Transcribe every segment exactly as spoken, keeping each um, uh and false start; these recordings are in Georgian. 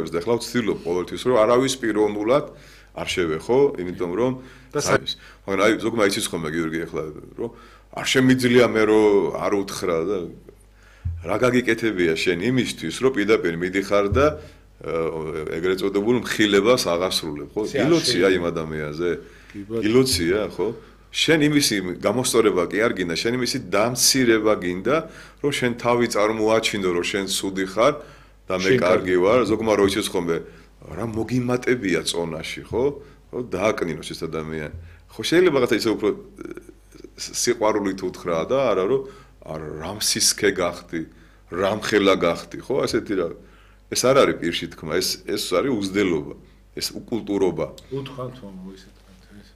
და ახლა ვცდილობ ყოველთვის რომ არავის პიროვნულად არ შევეხო, იმიტომ რომ მაგრამ აი ზოგმა იცის ხოლმე გიორგი ახლა რომ არ შემიძლია მე რომ არ უთხრა და რა გაგიკეთებია შენ იმისთვის რომ პირდაპირ მიდიხარ და ეგრეთ წოდებულ მხილებას აღასრულებ, ხო? ილოცია იმ ადამიანზე. ილოცია, ხო? შენ იმისი გამოსწორება კი არ გინდა, შენ იმისი დამცირება გინდა, რომ შენ თავი წარმოაჩინო, რომ შენ სუდი ხარ და მე კარგი ვარ, ზოგმა რო იცის ხოლმე, რა მოგიმატებია წონაში, ხო? ხო, დააკნინოს ეს ადამიანი. ხო, შეიძლება რაღაცა ისე უფრო სიყვარულით უთხრა და არა რომ რამ სისქე გახდი, რამ ხელა გახდი, ხო? ასეთი რა. ეს არ არის პირში თქმა, ეს ეს არის უზდელობა, ეს უკულტურობა. უთხრათ მომო ისე თქვენ ეს.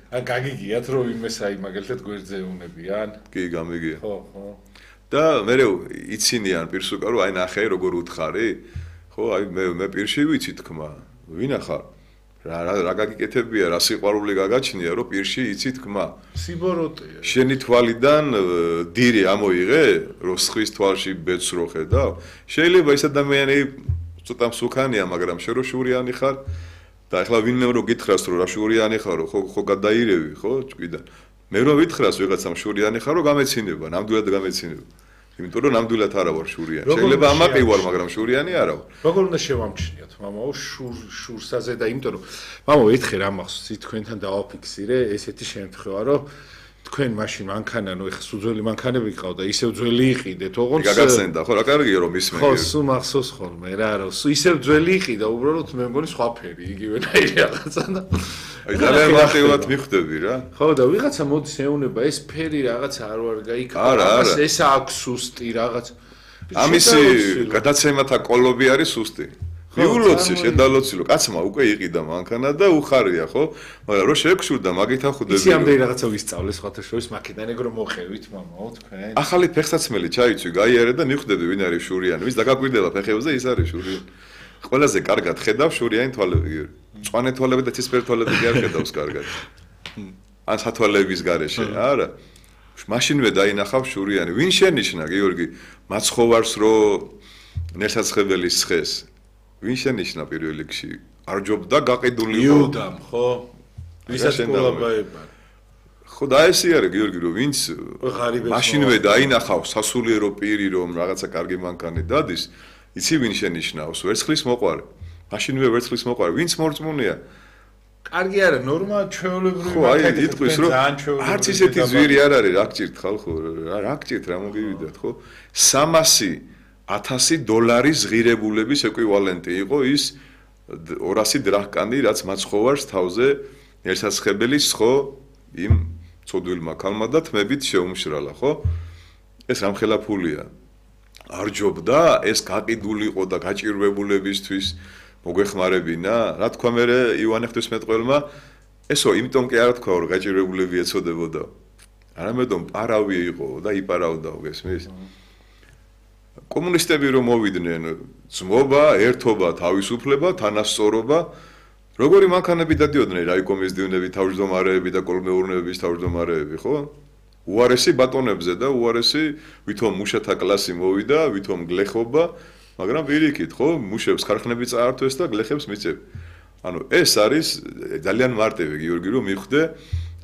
ან გაგიგიათ რომ იმეს აი მაგალითად გვერდზე უნებიან? კი, გამიგია. ხო, ხო. და მე იცინიან პირს უკან რომ აი ნახე როგორ უთხარი? ხო, აი მე მე პირში ვიცი თქმა. ვინახარ? რა რა გაგიკეთებია, რა სიყვარული გაგაჩნია, რომ პირში იცი თქმა. სიბოროტეა. შენი თვალიდან დირი ამოიღე, რომ სხვის თვალში ბედს რო ხედავ? შეიძლება ეს ადამიანი ცოტა მსუქანია, მაგრამ შენ რო შურიანი ხარ და ახლა ვინმე რო გითხრას რომ რა შურიანი ხარო, ხო ხო გადაირევი, ხო, ჭკვიდან. მე რო ვითხრას ვიღაცამ შურიანი ხარო, გამეცინება, ნამდვილად გამეცინება. იმიტომ რომ ნამდვილად არა ვარ შურიანი. შეიძლება ამაყი ვარ, მაგრამ შურიანი არა ვარ. როგორ უნდა შევამჩნიოთ, მამაო, შურ შურსაზე და იმიტომ რომ მამაო, ერთხელ რა მახსოვს, თქვენთან დავაფიქსირე ესეთი შემთხვევა, რომ თქვენ მაშინ მანქანა, ნუ ეხა სუძველი მანქანები ყავდა, ისევ ძველი იყიდეთ, ოღონდ გაგახსენდა, ხო, რა კარგია რომ ისმე. ხო, სულ მახსოვს ხოლმე რა, რომ ისევ ძველი იყიდა, უბრალოდ მე მგონი სხვა ფერი, იგივენაირი რაღაცა და აი ძალიან მარტივად მიხვდები რა. ხო და ვიღაცა მოდის ეუნება ეს ფერი რაღაცა არ ვარ გაიქცა, ეს აქვს სუსტი რაღაც. ამისი გადაცემათა კოლობი არის სუსტი. მიულოცი, შედალოცილო, კაცმა უკვე იყიდა მანქანა და უხარია, ხო? მაგრამ რო შეგშურდა, მაგით ახუდები. ისი ამდენი რაღაცა ვისწავლეს სხვათა შორის მაკედან ეგ რომ მოხევით, მამაო, თქვენ. ახალი ფეხსაცმელი ჩაიცვი, გაიარე და მიხვდები ვინ არის შურიანი, ვის დაგაკვირდება ფეხებზე, ის არის შურიანი. ყველაზე კარგად ხედავ შურიანი თვალები. მწვანე თვალები და ცისფერი თვალები კი არ ხედავს კარგად. ან სათვალეების გარეშე, არა. მაშინვე დაინახავ შურიანი. ვინ შენიშნა, გიორგი, მაცხოვარს რო ნერსაცხებელის ცხეს? ვინ შენიშნა პირველ რიგში? არჯობდა გაყიდული იყო. იუდამ, ხო? ვისაც ყოლაბაება. ხო და ესე არის გიორგი, რომ ვინც მაშინვე დაინახავ სასულიერო პირი, რომ რაღაცა კარგი მანქანი დადის, იცი ვინ შენიშნავს? ვერცხლის მოყვარე. მაშინვე ვერცხლის მოყვარე. ვინც მორწმუნეა? კარგი არა, ნორმა ჩვეულებრივი მანქანა იტყვის, რომ არც ისეთი ზვირი არ არის, რა გჭირთ ხალხო? რა გჭირთ, რა მოგივიდათ, ხო? სამასი ათასი დოლარის ღირებულების ეკვივალენტი იყო ის ორასი დრახკანი, რაც მაცხოვარს თავზე ერთსაცხებელის ხო იმ ცოდვილმა ქალმა და თმებით შეუმშრალა, ხო? ეს რამხელა ფულია. არ ჯობდა ეს გაყიდული იყო და გაჭირვებულებისთვის მოგეხმარებინა, რა თქვა მე ივანე ღვთისმეტყველმა, ესო იმიტომ კი არ თქვა რომ გაჭირვებულები ეცოდებოდა. არამედ პარავი იყო და იპარავდა გესმის? კომუნისტები რომ მოვიდნენ, ძმობა, ერთობა, თავისუფლება, თანასწორობა, როგორი მანქანები დადიოდნენ რაიკომის დივნები, თავმჯდომარეები და კოლმეურნეების თავმჯდომარეები, ხო? უარესი ბატონებზე და უარესი ვითომ მუშათა კლასი მოვიდა, ვითომ გლეხობა, მაგრამ პირიქით, ხო, მუშებს ქარხნები წაართვეს და გლეხებს მიწევ. ანუ ეს არის ძალიან მარტივი გიორგი რომ მიხვდე,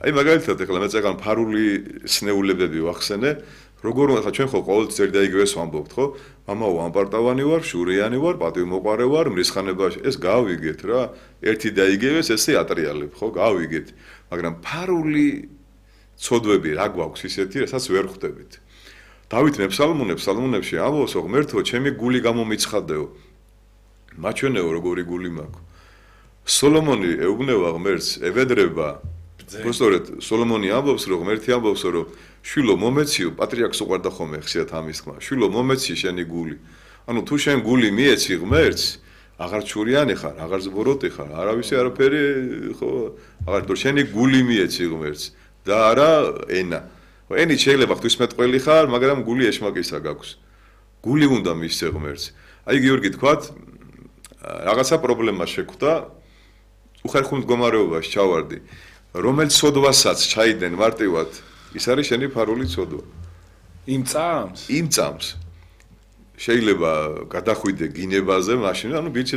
აი მაგალითად ახლა მე წეგან ფარული სნეულებები ვახსენე, როგორ ახლა ჩვენ ხო ყოველთვის ერთ და იგივეს ვამბობთ, ხო? მამაო, ამპარტავანი ვარ, შურიანი ვარ, პატივმოყვარე ვარ, მრისხანებაში, ეს გავიგეთ რა, ერთი და იგივეს ესე ატრიალებ, ხო? გავიგეთ. მაგრამ ფარული ცოდვები რა გვაქვს ისეთი, რასაც ვერ ხვდებით. დავით მეფსალმუნებს, სალმუნებში ამბობს, ღმერთო, ჩემი გული გამომიცხადეო. მაჩვენეო, როგორი გული მაქვს. სოლომონი ეუბნება ღმერთს, ევედრება. უბრალოდ სოლომონი ამბობს, რომ ღმერთი ამბობს, რომ შვილო მომეციო, პატრიარქს უყვარდა ხოლმე ხშირად ამის თქმა. შვილო მომეცი შენი გული. ანუ თუ შენ გული მიეცი ღმერთს, აღარ ჩურიანი ხარ, აღარ ზბოროტი ხარ, არავისი არაფერი, ხო, აღარ თორ შენი გული მიეცი ღმერთს და არა ენა. ენით შეიძლება ღვთისმეტყველი ხარ, მაგრამ გული ეშმაკისა გაქვს. გული უნდა მისცე ღმერთს. აი გიორგი თქვათ, რაღაცა პრობლემა შეხვდა, უხერხულ მდგომარეობაში ჩავარდი. რომელ ცოდვასაც ჩაიდენ მარტივად, ის არის შენი ფარული ცოდვა. იმ წამს? იმ წამს. შეიძლება გადახვიდე გინებაზე, მაშინ ანუ ბილჩეთ